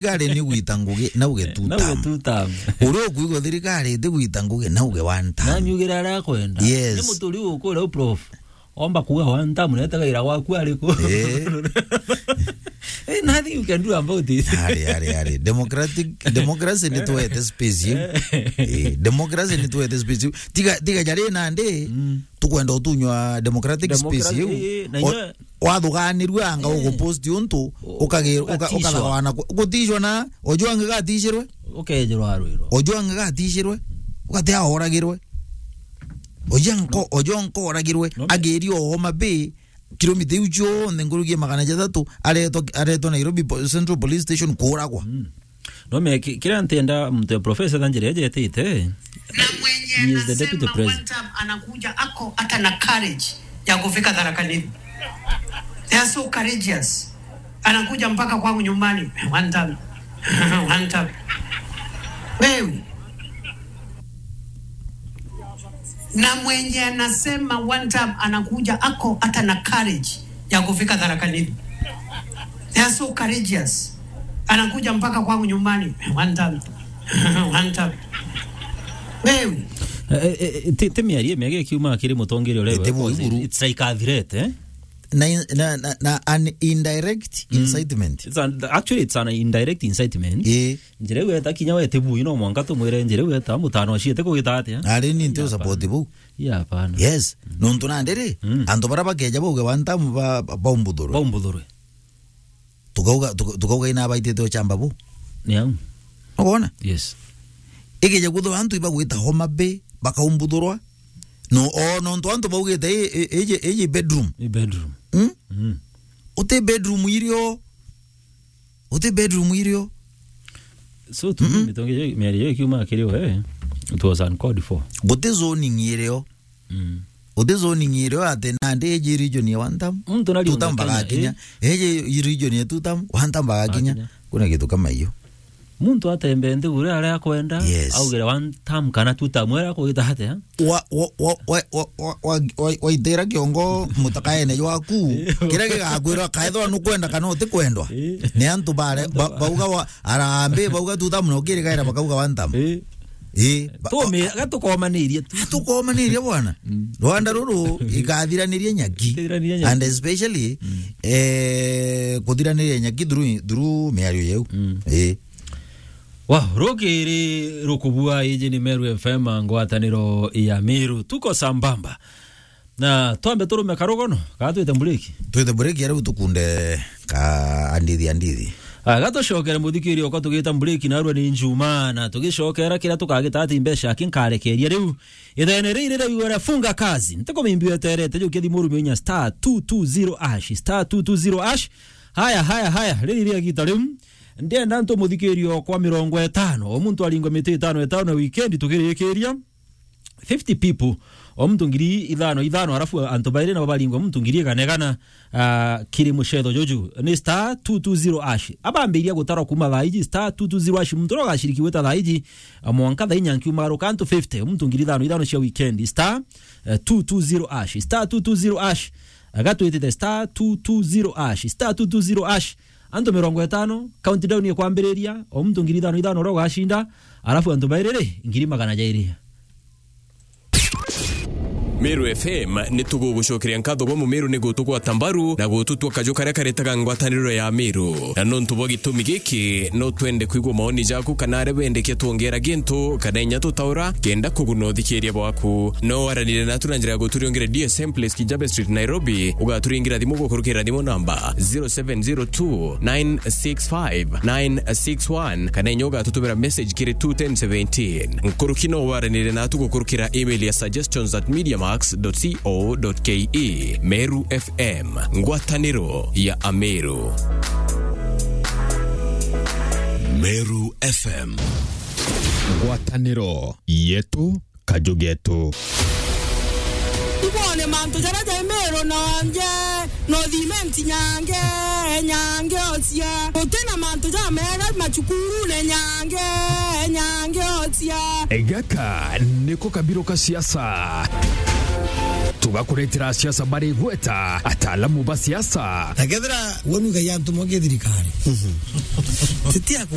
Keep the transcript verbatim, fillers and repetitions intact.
thirikari ni gwita ngugi, na uge two term. Na uge two term. Uria ukwigua thirikari iti gwita ngugi, na uge one term. Na nyugire aria akwenda. Yes. Ni muturi ukura u prof. Omba kuga one term, na etagaira gwaku ariku? Eh. Eh, nothing you can do about it. Ari, ari, ari. Democratic, democracy ni tuwete space iu. Eh. Eh, democracy ni tuwete space iu. Tiga, tiga jari nandi, mm, tukwenda utunywa democratic space iu. Democracy, eh, na o-, inya wathuganirua anga, eh, ugupost untu, u-, ukagi-, uka-, ukatishwa. Ukathawana ku-, gutishwa na Ojwang gatishirwe. Ukejirwa arwirwa. Ojwang gatishirwe. Ugatia oragirwe. Ojwang ko-, Ojwang ko oragirwe. No. Agirio Homa Bay, kilomita iu cionthe nkuruki ya magana jathatu, aretwa, aretwa Nairobi Po-, Central Police Station kuuragwa. Mm. No me ki-, kiria ntenda muntu ya professor tha njira ejetite. Na mwenye he is the deputy anasema president. One time anakuja ako hata na courage ya kufika Tharaka Nithi. They are so courageous. Anakuja mpaka kwangu nyumbani. One time. One time. Wewe. Na mwenye anasema one time anakuja ako hata na courage ya kufika Tharaka Nithi. They are so courageous. Anakuja mpaka kwangu nyumbani. One time. One time. Wewe. Eh, eh, eh, ti, ti miario miega ikiuma kiri mutongeria uria. Ete we, bwa iguru. It's like a threat, eh? Na in-, na, na, na an indirect, mm, incitement. It's an, actually, it's an indirect incitement. Eh. Njira iu eta kinya we ti bui, no mwanka tumwire njira iu eta mutano ciete kugita atia? Ari ni nti. Hapana. Support buu. Ii, hapana. Yes. Mm. Nontu nandi ri, mm, antu bara bakeja bauge one term ba, ba, baumbuthurwe. Baumbuthurwe. Tukauga, tuka-, tukauga ina baitite uchamba buu. Ni au. Ukwona? Yes. Ikeja kwithirwa antu ibagwita Homa Bay, bakaumbuthurwa. No, o, nontu antu baugite, i, i, iji, iji bedroom. I bedroom. Mm? Mm. Uti bedroom irio. Uti bedroom irio. So, tu, mm-mm, mitongi yo, miario yo ikiuma kiri we, it was uncalled for. Guti zoning irio. Mm. Guti zoning irio ati nandi iji region ya one term. Muntu na two term bagakinya. Eh. Iji region ya two term, one term bagakinya. Bagakinya. Kuna kitu kama hiyo. Muntu atembee nthiguru aria akwenda, yes, augire one term kana two term, era kugita atia? Wa, wa, waitira kiongo mutakaene jwaku, kiria gigakwirwa kaethwa nukwenda kana utikwendwa. Eh. Ni antu bare, ba-, bauga wa, arambi, bauga two term na ukirikaira bakauga one term. Eh. Eh, ba-, tume, gatukomanirie tu. Tukomanirie bwana. Mm. Rwanda ruru ikathiranirie nyaki. Ikathiranirie nyaki. And especially, mm, eh, kuthiraniria nyaki through, through miario yeu. Mm. Eh. Wa, rukiri rukubua, iji ni Meru F M, ngwataniro ya Meru. Tuko sambamba. Na twambe turume karugono, kaa twite mbureki? Twite mbureki, ariu tukunde ka andithi, andithi. Ah, gatucokere muthikiri okwa tugita mbureki, narua ni Njuma, na tugicokera kiria tukagita ati mbeca aki nkarekeria riu. Ithene riri riu wera funga kazi. Ntikumimbi weterete, jukia thimu urumie inya star two two zero hash, star two two zero hash. Haya, haya, haya, riri ria gita riu. Ndienda ntu muthikiri okwa mirongo itano, o muntu aringwe miti itano itano na weekend tukirikiria. Fifty people, o muntu ngiri ithano ithano, arafu antu bairi nabo baringwa muntu ngiri igana igana, ah, kiri mucetho juju. Ni star two two zero hash. Abambiria gutarwa kuma thaa iji, star two two zero hash. Muntu uria ugaciriki gwita thaa iji, ah, mwanka thaa inya nkiuma aruka antu fifty, o muntu ngiri ithano ithano cia weekend. Star, eh, two two zero hash. Star two two zero hash. Agatwitite star two two zero hash. Star two two zero hash. Antu mirongo itano, countdown ikwambiriria, o muntu ngiri ithano ithano uria ugacinda, arafu antu bairi ri, ngiri magana jairi. Meru F M, ni tugugucokeria nkatho bwa Mumiru ni gutugwata mbaru na gututua kaju karia karetaga ngwataniro ya Meru. Na nontu bwa gitumi giki, no twende kwigua maoni jaku kana aria wendekia twongera gintu kana inya tutaura kenda kuguna uthikiria bwaku. No waranire natu na njira ya guturiongere D S M Place, Kijabe Street, Nairobi, ugaturingira thimu gukurukira thimu namba zero seven zero two nine six five nine six one, kana inya ugatutumira message kiri two ten seventeen. Nkuruki no waranire natu gukurukira email ya suggestions at mediamax dot co dot ke. Meru F M, ngwataniro ya Ameru. Meru F M, ngwataniro yetu. Kaju getu. Ibone mantu jaria jai Meru nonje, no thimenti nyange, nyange ocia. Guti na mantu jamega macukurune nyange, nyange ocia. Gaka niko kabiro ka siasa. bakuretera siasa bari gweta ataalamu ba siasa. Na kethira woni ugai antu mogi thirikari. Titi ya